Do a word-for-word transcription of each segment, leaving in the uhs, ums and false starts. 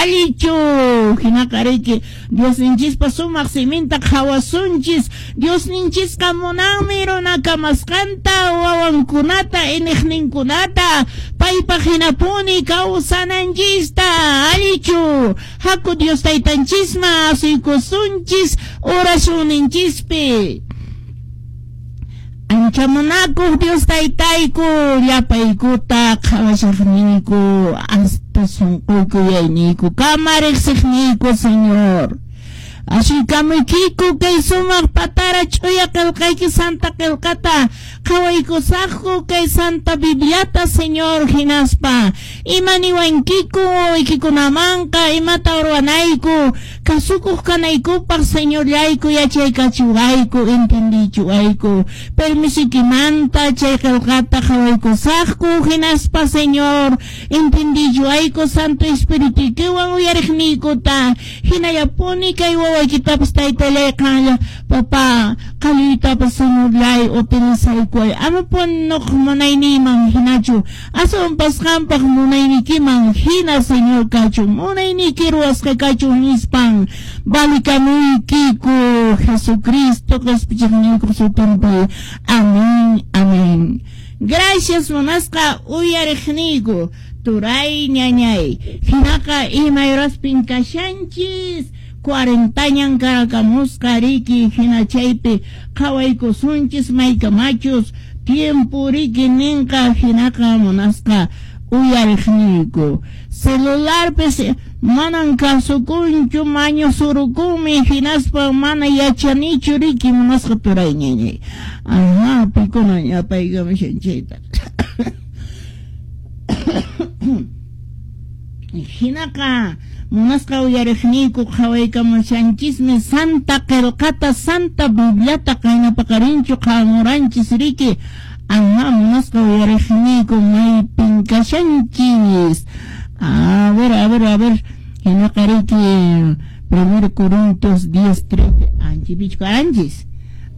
Allichu hinaqa riki Diosninchispa sumaq siminta qhawasunchis. Diosninchisqa munanmi runa kamasqanta wawankunata iniqninkunata paypaq hinapuni kawsananchista. Allichu haku Dios taytanchisman asuykusunchis oracionninchispi. Ancha munakuq Dios taytayku llapaykuta qhawashaqniyku hasta sunquyku yayniyku kama riqsiqniyku Señor. Asuykamuykiku kay sumaq patara ch'uya qillqayki Santa qillqata qhawaykusaqku kay Santa Bibliata Señor hinaspa ima niwankiku wawaykikunamanqa imata ruwanayku kasukuq kanaykupaq Señorllayku yachaykachiwayku entendichiwayku permisoykimanta chay qillqata qhawaykusaqku hinaspa Señor entendichiwayku Santo Espirituykiwan uyariqniykuta hinallapuni kay wawaykitapas taytallay qanlla papá qalluytapas Señorllay utilizaykuway amapuni nuqa munayniyman hinachu aswanpas qampaq munaynikiman hina Señor kachun munayniyki ruwasqa kachun nispan valikamuykiku Jesucristo qhispichiqniykuq sutinpi. Amén, amén. Gracias munasqa uyariqniyku turay ñañay hinaqa imay horaspin kashanchis cuarentañan karakamusqa riki hina chaypi qhawaykusunchis maykamachus tiempo riki ninqa hinaqa munasqa uyariqniyku celularpis manan kasukunchu maño surukunmi hinaspa mana yachanichu riki munasqa turay ñañay. Ajá, pikuna ñapaykamushan chayta. Hinaqa munasqa uyariqniyku qhawaykamushanchismi Santa qillqata Santa Bibliata qaynapaqarinchu qhawamuranchis riki. Ajá, munasqa uyariqniyku maypin kashanchis. A ver, a ver, a ver. Hinaqa riki Primero Corintios diez, trece anchipichu karanchis.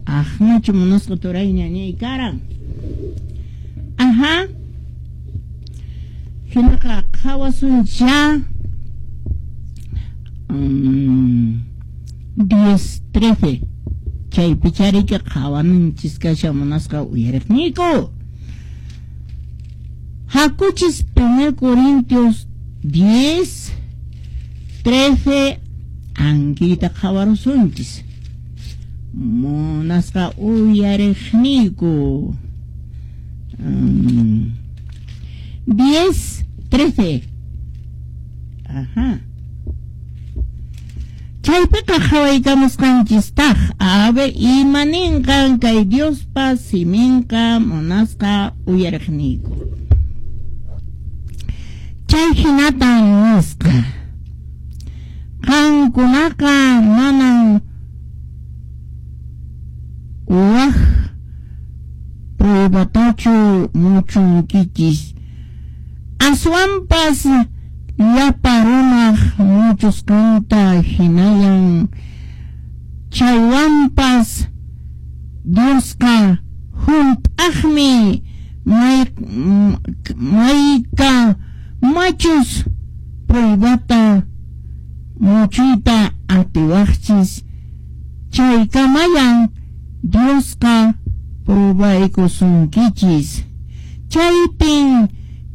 Ajnachu munasqa turay ñañay karan. Ajá. Hinaqa qhawasuncha um, diez, trece chaypi chariki qhawananchis kashan munasqa uyariqniyku. Hakuchis Primero Corintios diez, trece ankita qhawarusunchis munasqa uyariqniyku. Um, diez, trece. Ajá. Chaypiqa qhawaykamusqanchistaq a ver ima ninqan kay Diospa siminqa munasqa uyariqniyku. Chay hinatan nisqa qankunaqa manan waj pruebatachu muchunkichis aswanpas llapa runaq muchusqanta hinallan chaywanpas Diosqa hunt'aqmi may mayka machus pruebata muchuyta atiwaqchis chaykamayan Diosqa pruebaykusunkichis chaypin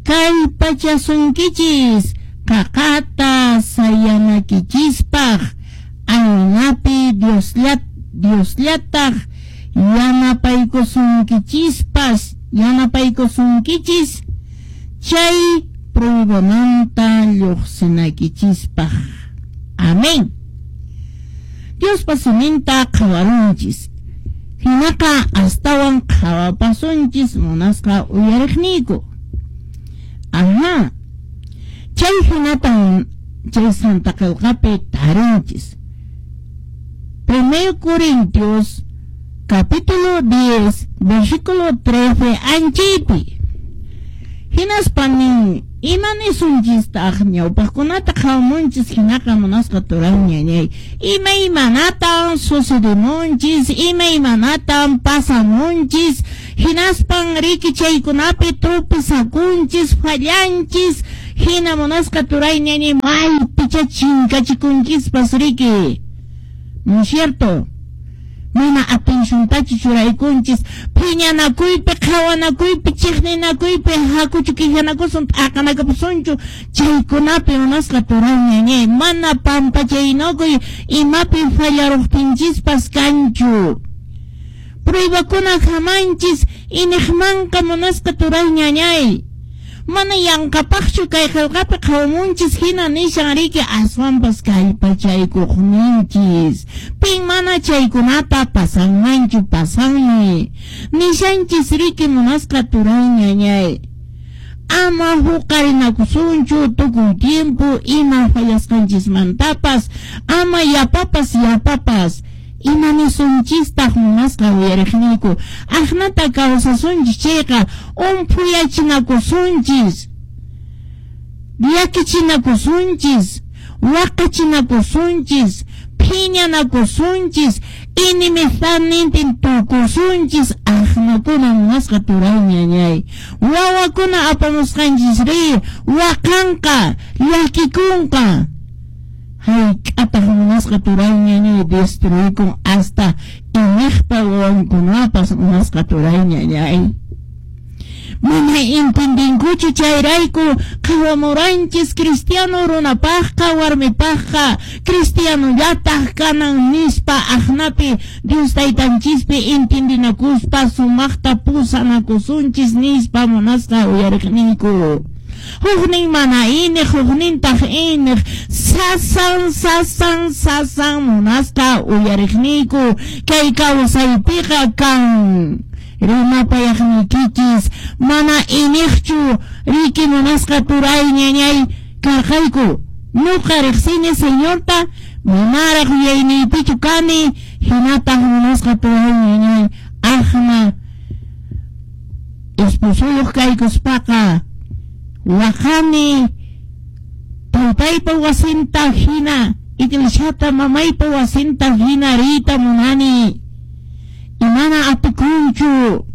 kallpachasunkichis qaqata sayanaykichispaq aynapi Diosllat Diosllataq yanapaykusunkichispas yanapaykusunkichis chay pruebamanta lluqsinaykichispaq. Amén. Diospa siminta qhawarunchis hinaqa astawan qhawapasunchis munasqa uyariqniyku. Ajá. Chay hinatan chay Santa Qillqapi tarinchis. Primero Corintios capítulo diez versículo trece anchaypi. Hinaspa nin ima nisunchistaq ñawpaqkunata qhawamunchis hinaqa munasqa turay ñañay imaymanatan sucedemunchis imaymanatan pasamunchis hinaspan riki chaykunapi tropezakunchis fallanchis hina munasqa turay ñañay maypi Icha chinkachikunchispas riki, ¿no es cierto? Mana atenciontachu churaykunchis phiñanakuypi, qhawanakuypi, chiqninakuypi, hakuchu quejanakusun, t'aqanakapusunchu, chaykunapi munasqa turay ñañay, mana pampachaynakuy imapi fallaruqtinchispas kanchu. Pruebakuna hamanchis iniqmanqa munasqa turay ñañay. Mana yanqapaqchu kay qillqapi qhawamunchis hina nishan riki, aswanpas kallpachaykuqninchis. Pin mana chaykunata pasanmanchu, pasanmi. Nishanchis riki munasqa turay ñañay. Ama huqarinakusunchu tukuy tiempo ima fallasqanchismantapas, ama yapapas yapapas. Ima nisunchistaq munasqa uyariqniyku, aqnata kawsasunchis chayqa umphuyachinakusunchis, llakichinakusunchis, waqachinakusunchis, phiñanakusunchis, inimistadnintin tukusunchis, aqnakuna munasqa turay ñañay. Wawakuna apamusqanchis ri, waqanqa, llakikunqa. Hayk'ataq munasqa turay ñañay destruykun hasta iñiqpa wawankunapas munasqa turay ñañay. Mana entendinkuchu chayrayku qhawamuranchis cristiano runapaqqa warmipaqqa cristianollataq kanan nispa aqnapi Dios taytanchispi entendinakuspa sumaqta pusanakusunchis nispa munasqa uyariqniyku. Huknin mana iniq, huknintaq iniq, sasan, sasan, sasan munasqa uyariqniyku kay kawsaypiqa kan. Rimapayaqniykichis mana iniqchu riki munasqa turay ñañay karqayku. Ñuqa riqsini Señorta, manaraq yuyayniypichu kani, hinataq munasqa turay ñañay aqna esposuyuq kaykuspaqa waqani taytaypa wasinta hina, iglesiata mamaypa wasinta hina riyta munani. Imana atikunchu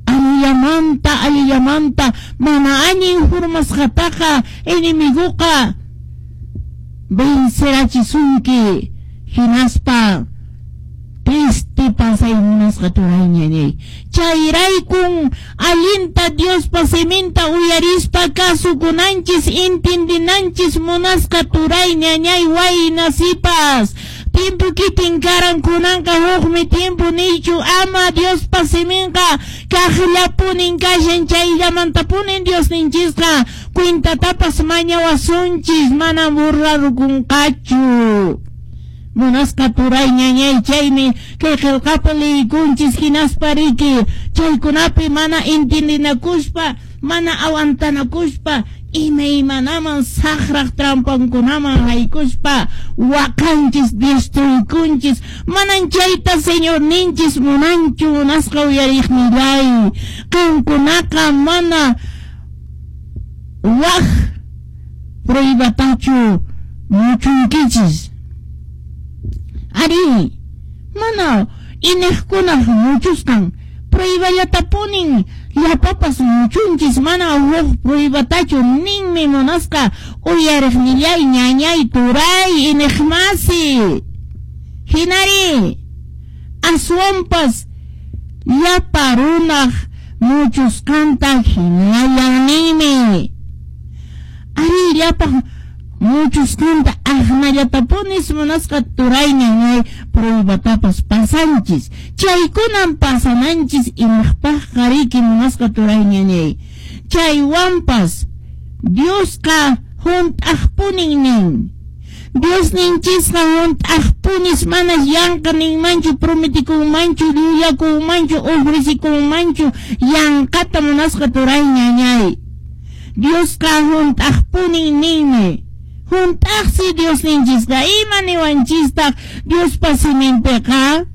allillamanta, allillamanta mana allin hurmasqataqa enemiguqa vencerachisunki hinaspa triste pasay munasqa turay ñañay. Chayraykun allinta Diospa siminta uyarispa kasukunanchis, entendinanchis munasqa turay ñañay wayna sipas. Tiempo kitin karan kunanqa hukmi tiempo nichu, ama Diospa siminqa kaqllapunin kashan, chayllamantapunin Diosninchisqa cuentatapas mañawasunchis, mana burlarukunqachu. Munasqa turay ñañay, chaymi kay qillqapi liykunchis hinaspa riki chaykunapi mana entendinakuspa, mana aguantanakuspa, imaymanaman saqraq trampankunaman haykuspa waqanchis, destruykunchis. Manan chayta Señorninchis munanchu munasqa uyariqnillay. Qankunaqa mana waq pruebatachu muchunkichis. Ari, mana iniqkunaq muchusqan prueballatapuni llapapas muchunchis, mana huk pruebatachu ninmi munasqa uyariqnillay ñañay turay iniqmasi. Hinari, aswanpas llapa runaq muchusqanta hinallan ninmi. Ari, llapa muchusqanta aqnallatapunis munasqa turay ñañay pruebatapas pasanchis. Chaykunan pasananchis imaqpaqqa riki munasqa turay ñañay. Chaywanpas Diosqa hunt'aqpunin nin. Diosninchisqa hunt'aqpunis, mana yanqa ninmanchu, prometikunmanchu, llullakunmanchu, ofrecikunmanchu yanqata munasqa turay ñañay. Diosqa hunt'aqpunin ninmi. Hunt'aqsi Diosninchisqa, ima niwanchistaq Diospa siminpiqa?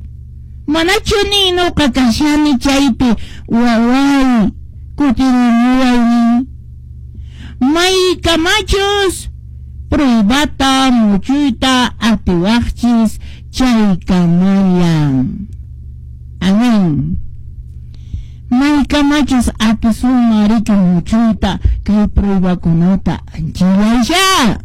Manachu nin nuqa kashani chaypi waway kutirimuway nin. Maykamachus pruebata muchuyta atiwaqchis chaykamallan. Amén. Maykamachus atisunman riki muchuyta kay pruebakunata anchilasha.